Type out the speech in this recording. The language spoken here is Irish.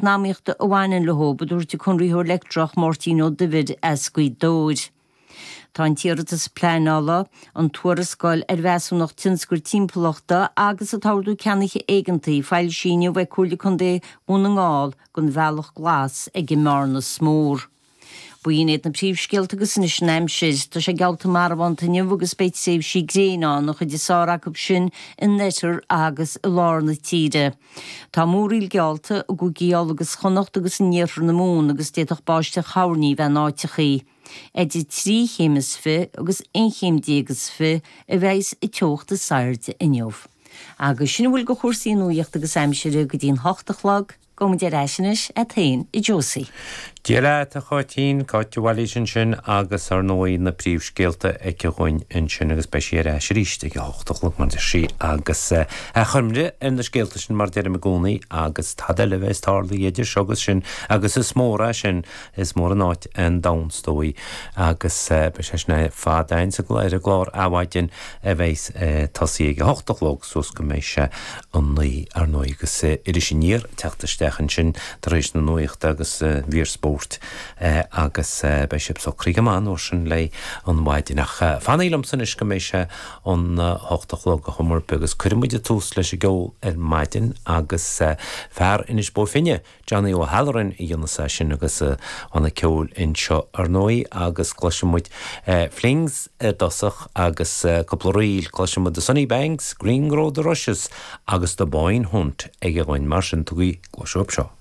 Eacnamaíochta a bhaineann leo, a dúirt an Conraitheoir Leictreach Máirtín Ó Duibhir as Gaoth Dobhair. Tá an t-iarratas pleanála, an tuarascáil ar mheasúnacht tionchair timpeallachta agus an t-ordú ceannaithe éigeantaí foilsithe inniu ag Comhairle Contae Dhún na nGall don Bhealach Glas ag an mBearnas Mór. B'in iad na príomhscéalta agus anois an aimsir. Tá sé geallta marbhánta inniu agus beidh tréimhsí gréine ann, an chuid is fearr acu sin in oirthear agus i lár na tíre. Tá múraíl geallta i gCúigí Uladh agus Chonnacht agus in iarthar na Mumhan agus d'fhéadfadh báisteach thoirní bheith in áiteachaí. Idir trí chéim is fi agus aon chéim déag is fi a bheidhs an teocht is airde inniu. Agus sin a bhfuil de chúrsaí nuaíochta agus aimsire go dtí'n hocht a chlog. Gabhaimid ar ais anois agat féin, a Josie. Dia leat, a Cháitín, Cáit de Bhailís ansin agus ar ndóigh na príomhscéalta aici dhúinn ansin agus beidh sí ar ais arís ag a hocht a chlog mar deir sí agus achoimre ar na scéalta sin mar deirim i gcónaí agus tada eile a bheas tarlaithe idir seo agus sin agus is mór é sin, is mór an áit an domhan is dóigh agus beidh sé sin ar fad againn sa ar an gclár Adhmhaidin a bheas ag tosaí ag a hocht a chlog suas go mbeidh sé a naoi ar ndóigh agus Iris Aniar ag teacht isteach ansin tar éis na nuachta agus mhír spóirt agus beidh sibh socraithe go maith an uair sin le an mhaidin. Ach fanaigí liomsa anois go mbeidh sé an hocht a chlog a chuma ar bith agus cuirfidh muid tús leis an gceol ar maidin agus fear Inis Bó Finne Johnny O'Halloran a dhéanas é sin agus a bhanna ceoil anseo ar ndóigh agus cloisfidh muid Flings i dtosach agus cúpla ríl, cloisfidh muid The Sunny Banks, Green Grow the Rushes agus The Boyne Hunt aige dhúinn mar sin tugaigí cluas uaibh seo.